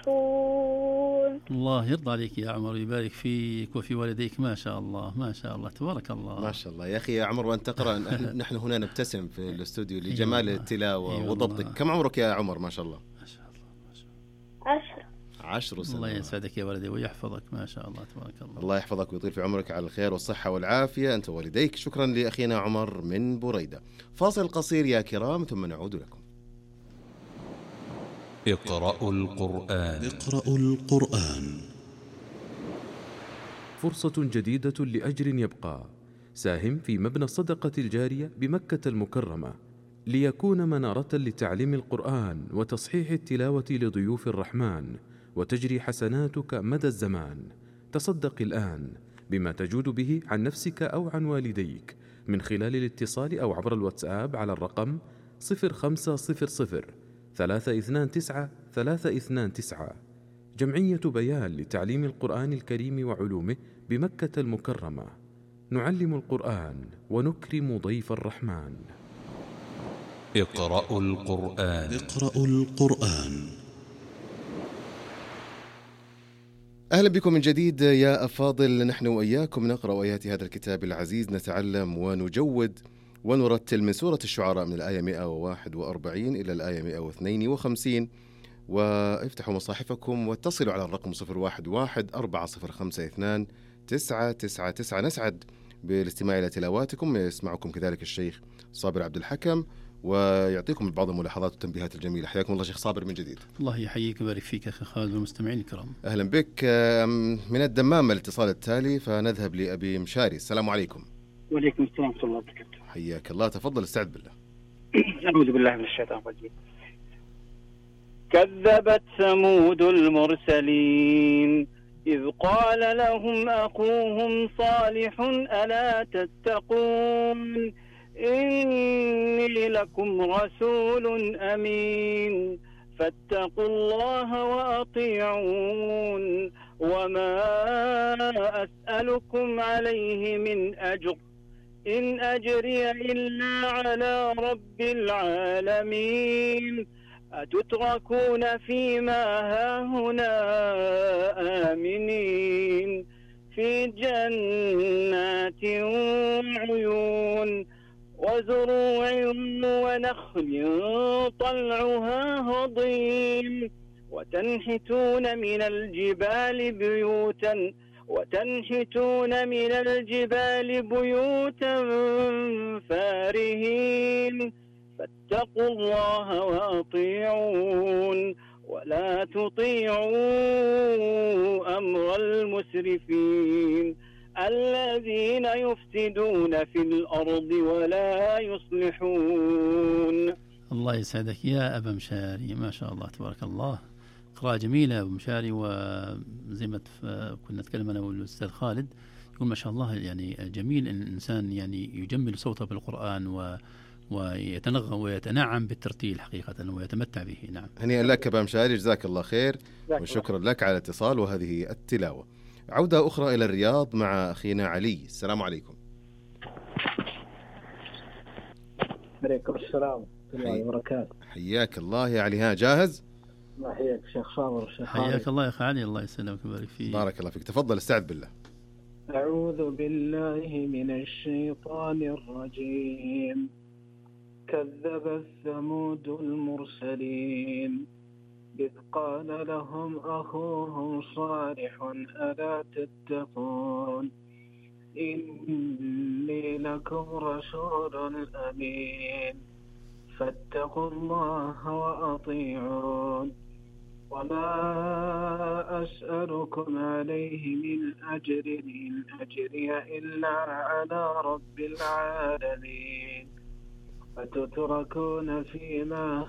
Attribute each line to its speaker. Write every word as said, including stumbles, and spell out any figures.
Speaker 1: تصلحون.
Speaker 2: الله يرضى عليك يا عمر ويبارك فيك وفي والديك. ما شاء الله ما شاء الله تبارك الله.
Speaker 3: ما شاء الله يا أخي يا عمر، وأنت تقرأ نحن هنا نبتسم في الاستوديو لجمال التلاوة وضبطك. كم عمرك يا عمر؟ ما شاء الله.
Speaker 2: ما شاء الله ما شاء الله.
Speaker 1: عشر.
Speaker 3: عشر سنوات.
Speaker 2: الله يسعدك يا ولدي ويحفظك. ما شاء الله تبارك الله.
Speaker 3: الله يحفظك ويطيل في عمرك على الخير والصحة والعافية أنت ووالديك. شكرا لأخينا عمر من بريدة. فاصل قصير يا كرام ثم نعود لكم.
Speaker 4: اقرأوا القرآن.
Speaker 5: اقرأوا القرآن.
Speaker 6: فرصة جديدة لأجر يبقى. ساهم في مبنى الصدقة الجارية بمكة المكرمة ليكون منارة لتعليم القرآن وتصحيح التلاوة لضيوف الرحمن، وتجري حسناتك مدى الزمان. تصدق الآن بما تجود به عن نفسك أو عن والديك من خلال الاتصال أو عبر الواتساب على الرقم صفر خمسة صفر صفر ثلاثة اثنان تسعة ثلاثة اثنان تسعة. جمعية بيان لتعليم القرآن الكريم وعلومه بمكة المكرمة. نعلم القرآن ونكرم ضيف الرحمن.
Speaker 4: اقرأوا القرآن.
Speaker 5: اقرأوا القرآن.
Speaker 3: أهلا بكم من جديد يا أفاضل. نحن وإياكم نقرأ آيات هذا الكتاب العزيز، نتعلم ونجود ونرتل من سورة الشعراء من الآية مئة وواحد وأربعين إلى الآية مئة واثنين وخمسين. وافتحوا مصاحفكم واتصلوا على الرقم صفر واحد واحد أربعة صفر خمسة اثنان تسعة تسعة تسعة. نسعد بالاستماع إلى تلاواتكم. يسمعكم كذلك الشيخ صابر عبد الحكم ويعطيكم بعض الملاحظات والتنبيهات الجميلة. حياكم الله شيخ صابر من جديد.
Speaker 2: الله يحييك ويبارك فيك أخي خالد والمستمعين الكرام.
Speaker 3: أهلا بك. من الدمام الاتصال التالي فنذهب لأبي مشاري. السلام عليكم.
Speaker 7: وعليكم السلام ورحمة الله وبركاته.
Speaker 3: حياك الله. تفضل استعد بالله.
Speaker 7: أعوذ بالله من الشيطان الرجيم. كذبت ثمود المرسلين إذ قال لهم أخوهم صالح ألا تتقون إني لكم رسول أمين فاتقوا الله وأطيعون وما أسألكم عليه من أجر إن أجري إلا على رب العالمين أتتركون فيما هاهنا آمنين في جنات وعيون وزروع ونخل طلعها هضيم وتنحتون من الجبال بيوتا وتنحتون من الجبال بيوتا فارهين فاتقوا الله وأطيعون ولا تطيعوا أمر المسرفين الذين يفسدون في الأرض ولا يصلحون.
Speaker 2: الله يسعدك يا أبا مشاري. ما شاء الله تبارك الله. قراءة جميلة أبو مشاري. وزي ما كنا نتكلم أنا والأستاذ خالد يقول ما شاء الله يعني جميل أن الإنسان يعني يجمل صوته بالقرآن و ويتنغم ويتنعم بالترتيل حقيقة ويتمتع به. نعم.
Speaker 3: هنيئا لك أبا مشاري. جزاك الله خير وشكرا لك على الاتصال وهذه التلاوة. عودة أخرى إلى الرياض مع أخينا علي. السلام عليكم.
Speaker 8: عليكم السلام ورحمة الله وبركاته.
Speaker 3: حياك الله يا علي. ها جاهز؟
Speaker 8: الله يحييك شيخ صابر. شيخ
Speaker 2: حياك الله يا أخي علي. الله يسلمك ويبارك فيك.
Speaker 3: بارك الله فيك. تفضل استعد بالله.
Speaker 8: أعوذ بالله من الشيطان الرجيم. كذب ثمود المرسلين إذ قال لهم أخوهم صالح ألا تتقون إني لكم رسول أمين فاتقوا الله وأطيعون وما أسألكم عليه من أجر إن أجري إلا على رب العالمين أتتركون فيما